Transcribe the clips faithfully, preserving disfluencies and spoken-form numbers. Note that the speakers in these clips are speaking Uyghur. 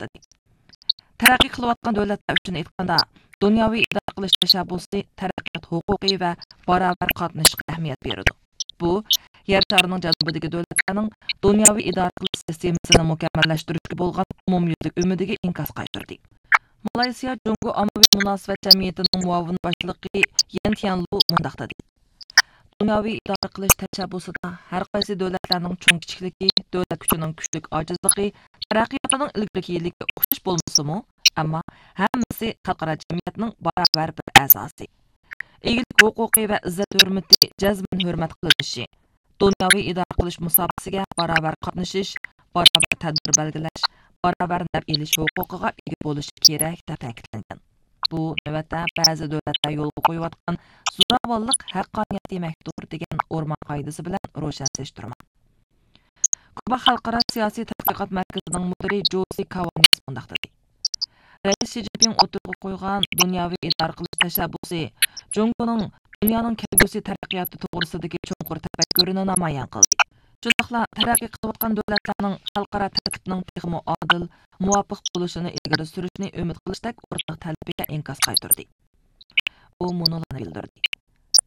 مۇنداق دېدى: تەرەققىي قىلىۋاتقان دۆلەتلەر ئۈچۈن ئېيتقاندا، دۇنياۋى ئىدارە قىلىش تەشەببۇسى تەرەققىيات ھوقۇقى ۋە باراۋەر قاتنىشىشقا ئەھمىيەت بېرىدۇ. بۇ، يەر شارىنىڭ جەنۇبىدىكى دۆلەتلەرنىڭ دۇنياۋى ئىدارە قىلىش سىستېمىسىنى مۇكەممەللەشتۈرۈشكە بولغان ئومۇميۈزلۈك ئۈمىدىگە ئىنكاس قايتۇردى. مالايسىيا جۇڭگو ئاممىۋى مۇناسىۋەت جەمئىيىتىنىڭ مۇئاۋىن باشلىقى يەن تيەنلۇ مۇنداق دېدى: دۇنياۋى ئىدارە قىلىش تەشەببۇسىدا ھەر قايسى دۆلەتلەرنىڭ چوڭ-كىچىكلىكى، دۆلەت كۈچىنىڭ كۈچلۈك-ئاجىزلىقى، تەرەققىياتىنىڭ ئىلگىرىكىلىكى ئوخشاش بولمىسىمۇ، ئەمما ھەممىسى خەلقئارا جەمئىيەتنىڭ باراۋەر بىر ئەزاسى. ئىگىلىك ھوقۇقى ۋە ئىززەت-ھۆرمىتى جەزمەن ھۆرمەت قىلىنىشى، دۇنياۋى ئىدارە قىلىش مۇساپىسىگە باراۋەر قاتنىشىش، باراۋەر تەدبىر بەلگىلەش، باراۋەر نەپ ئېلىش ھوقۇقىغا ئىگە بولۇشى كېرەك، دەپ تەكىتلەنگەن. بۇ نۆۋەتتە بەزى دۆلەتلەر يولغا قويۇۋاتقان زوراۋانلىق ھەققانىيەت دېمەكتۇر دېگەن ئورمان قائىدىسى بىلەن روشەنلەشتۈرمە. كۇبا خەلقئارا سىياسىي تەتقىقات مەركىزىنىڭ مۇدىرى جوزى كاۋانياس مۇنداق دېدى: رەئىس شى جىنپىڭ ئوتتۇرىغا قويغان دۇنياۋى ئىدارە قىلىش تەشەببۇسى جۇڭگونىڭ دۇنيانىڭ كەلگۈسى تەرەققىياتى توغرىسىدىكى چوڭقۇر تەپەككۇرىنى نامايان قىلدى. شۇنداقلا تەرەققىي قىلىۋاتقان دۆلەتلەرنىڭ خەلقئارا تەرتىپنىڭ تېخىمۇ ئادىل، مۇۋاپىق بولۇشىنى ئىلگىرى سۈرۈشنى ئۈمىد قىلىشتەك ئورتاق تەلىپىگە ئىنكاس قايتۇردى. ئۇ مۇنۇلارنى بىلدۈردى: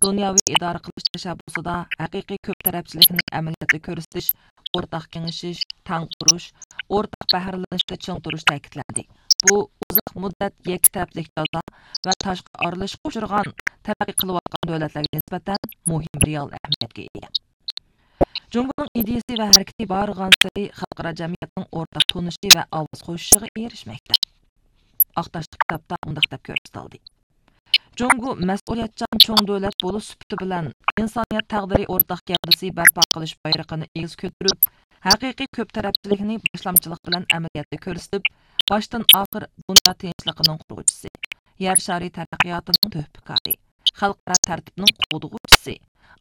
دۇنياۋى ئىدارە قىلىش تەشەببۇسىدا ھەقىقىي كۆپ تەرەپچىلىكنى ئەمەلىيەتتە كۆرسىتىش، ئورتاق كېڭىشىش، تەڭ تۇرۇش، ئورتاق بەھرىلىنىشتە چىڭ تۇرۇش تەكىتلەندى. بۇ ئۇزاق مۇددەت يەككە تەرەپلىك جازا ۋە تاشقى ئارىلىشىشقا ئۇچرىغان تەرەققىي قىلىۋاتقان دۆلەتلەرگە نىسبەتەن مۇھىم رېئال ئەھمىيەتكە ئىگە. جۇڭگونىڭ ئىدىيىسى ۋە ھەرىكىتى بارغانسېرى خەلقئارا جەمئىيەتنىڭ ئورتاق تونۇشى ۋە ئاۋاز قوشۇشىغا ئېرىشمەكتە. ئاق تاشلىق كىتابتا مۇنداق دەپ كۆرسىتىلدى: جۇڭگو مەسئۇلىيەتچان چوڭ دۆلەت بولۇش سۈپىتى بىلەن ئىنسانىيەت تەقدىرى ئورتاق گەۋدىسى بەرپا قىلىش بايرىقىنى ئېگىز كۆتۈرۈپ، ھەقىقىي كۆپ تەرەپچىلىكنى باشلامچىلىق بىلەن ئەمەلىيەتتە كۆرسىتىپ، باشتىن ئاخىر دۇنيا تىنچلىقىنىڭ قۇرغۇچىسى، يەر شارى تەرەققىياتىنىڭ تۆھپىكارى، خەلقئارا تەرتىپنىڭ قوغدىغۇچىسى،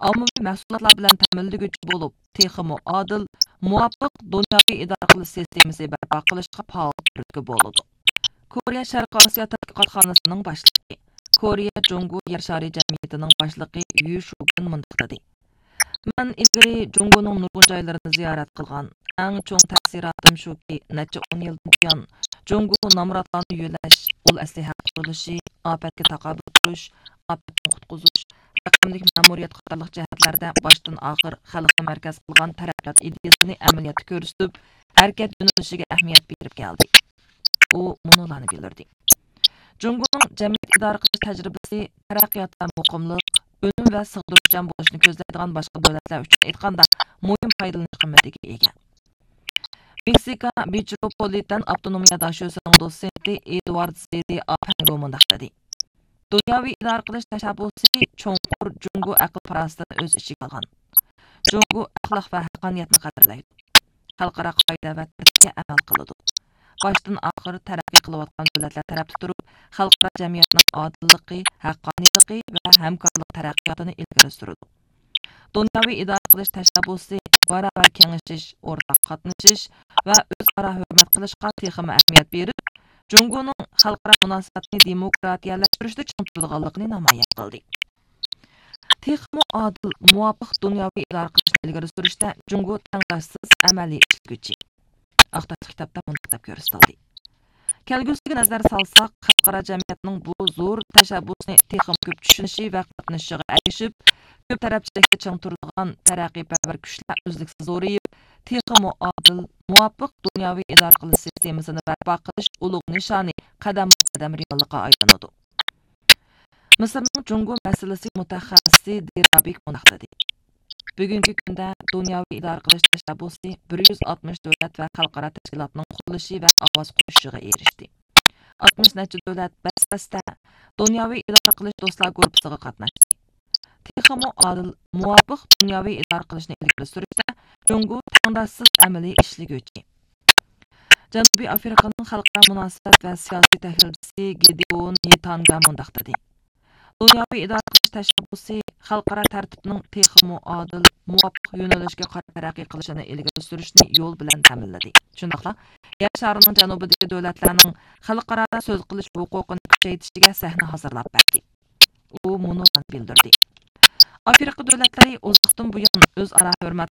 ئاممىۋى مەھسۇلاتلار بىلەن تەمىنلىگۈچى بولۇپ، تېخىمۇ ئادىل، مۇۋاپىق دۇنياۋى ئىدارە قىلىش سىستېمىسى بەرپا قىلىشقا پائال تۈرتكە بولىدۇ. كورېيە شەرقىي ئاسىيا تەتقىقاتخانىسىنىڭ باشلىقى، كورېيە جۇڭگو يەر شارى جەمئىيىتىنىڭ باشلىقى يۈ شۇگېن مۇنداق دېدى: مەن ئىلگىرى جۇڭگونىڭ نۇرغۇن جايلىرىنى زىيارەت قىلغان. ئەڭ چوڭ تەسىراتىم شۇكى، نەچچە ئون يىلدىن بۇيان جۇڭگو نامراتلارنى يۆلەش، ئۇل ئەسلىھە قۇرۇلۇشى، ئاپەتكە تاقابىل تۇرۇش، ئاپەتتىن قۇتقۇزۇش، رەقەملىك مەمۇرىيەت قاتارلىق جەھەتلەردە باشتىن ئاخىر خەلقنى مەركەز قىلغان تەرەققىيات ئىدىيىسىنى ئەمەلىيەتتە كۆرسىتىپ، ھەرىكەت يۆنىلىشىگە ئەھمىيەت بېرىپ كەلدى. ئۇ مۇنۇلارنى بىلدۈردى: جۇڭگونىڭ جەمئىيەت ئىدارە قىلىش تەجرىبىسى تەرەققىياتتا مۇقىملىق، ئۈنۈم ۋە سىغدۇرۇشچان بولۇشنى كۆزلەيدىغان باشقا دۆلەتلەر ئۈچۈن ئېيتقاندا مۇھىم پايدىلىنىش قىممىتىگە ئىگە. مېكسىكا مېتروپولىتېن ئاپتونومىيە داشۆسىنىڭ دوتسېنتى ئېدۋارد زېدى ئاپەنگو مۇنداق دېدى: دۇنياۋى ئىدارە قىلىش تەشەببۇسى چوڭقۇر جۇڭگو ئەقىل-پاراسىتىنى ئۆز ئىچىگە ئالغان. جۇڭگو ئەخلاق ۋە ھەققانىيەتنى قەدىرلەيدۇ. خەلقئارا قائىدە ۋە تەرتىپكە ئەمەل قىلىدۇ. باشتىن ئاخىر تەرەققىي قىلىۋاتقان دۆلەتلەر تەرەپتە تۇرۇپ، خەلقئارا جەمئىيەتنىڭ ئادىللىقى، ھەققانىيلىقى ۋە ھەمكارلىق تەرەققىياتىنى ئىلگىرى سۈرىدۇ. دۇنياۋى ئىدارە قىلىش تەشەببۇسى باراۋەر كېڭىشىش، ئورتاق قاتنىشىش ۋە ئۆزئارا ھۆرمەت قىلىشقا تېخىمۇ ئەھمىيەت بېرىپ، جۇڭگونىڭ خەلقئارا مۇناسىۋەتنى دېموكراتىيەلەشتۈرۈشتە چىڭ تۇرىدىغانلىقىنى نامايان قىلدى. تېخىمۇ ئادىل، مۇۋاپىق دۇنياۋى ئىدارە قىلىشنى ئىلگىرى سۈرۈشتە جۇڭگو تەڭداشسىز ئەمەلىي ئىشلىگۈچى. ئاق تاشلىق كىتابتا مۇنداق دەپ كۆرسىتىلدى: كەلگۈسىگە نەزەر سالساق، خەلقئارا جەمئىيەتنىڭ بۇ زور تەشەببۇسىنى تېخىمۇ كۆپ چۈشىنىشى ۋە قاتنىشىشىغا ئەگىشىپ، كۆپ تەرەپچىلىكتە چىڭ تۇرىدىغان تەرەققىيپەرۋەر كۈچلەر ئۈزلۈكسىز زورىيىپ، تېخىمۇ ئادىل، مۇۋاپىق دۇنياۋى ئىدارە قىلىش سىستېمىسىنى بەرپا قىلىش ئۇلۇغ نىشانى قەدەممۇ قەدەم رېئاللىققا ئايلىنىدۇ. مىسىرنىڭ جۇڭگو مەسىلىسى مۇتەخەسسىسى دىرابىك مۇنداق دېدى: بۈگۈنكى كۈندە دۇنياۋى ئىدارە قىلىش تەشەببۇسى بىر يۈز ئاتمىش دۆلەت ۋە خەلقئارا تەشكىلاتنىڭ قوللىشى ۋە ئاۋاز قوشۇشىغا ئېرىشتى. ئاتمىش نەچچە دۆلەت بەس-بەستە دۇنياۋى ئىدارە قىلىش دوستلار گۇرۇپپىسىغا قاتناشتى. تېخىمۇ ئادىل، مۇۋاپىق دۇنياۋى ئىدارە قىلىشنى ئىلگىرى سۈرۈشتە جۇڭگو تەڭداشسىز ئەمەلىي ئىشلىگۈچى. جەنۇبىي ئافرىقىنىڭ خەلقئارا مۇناسىۋەت ۋە سىياسىي تەھلىلچىسى گېدېئون نېتانگا مۇنداق دېدى: دۇنياۋى ئىدارە قىلىش تەشەببۇسى خەلقئارا تەرتىپنىڭ تېخىمۇ ئادىل، مۇۋاپىق يۆنىلىشكە قاراپ تەرەققىي قىلىشىنى ئىلگىرى سۈرۈشنى يول بىلەن تەمىنلىدى. شۇنداقلا يەر شارىنىڭ جەنۇبىدىكى دۆلەتلەرنىڭ خەلقئارادا سۆز قىلىش ھوقۇقىنى كۈچەيتىشىگە سەھنە ھازىرلاپ بەردى. ئۇ مۇنۇلارنى بىلدۈردى: ئافرىقا دۆلەتلىرى ئۇزاقتىن بۇيان ئۆزئارا ھۆرمەت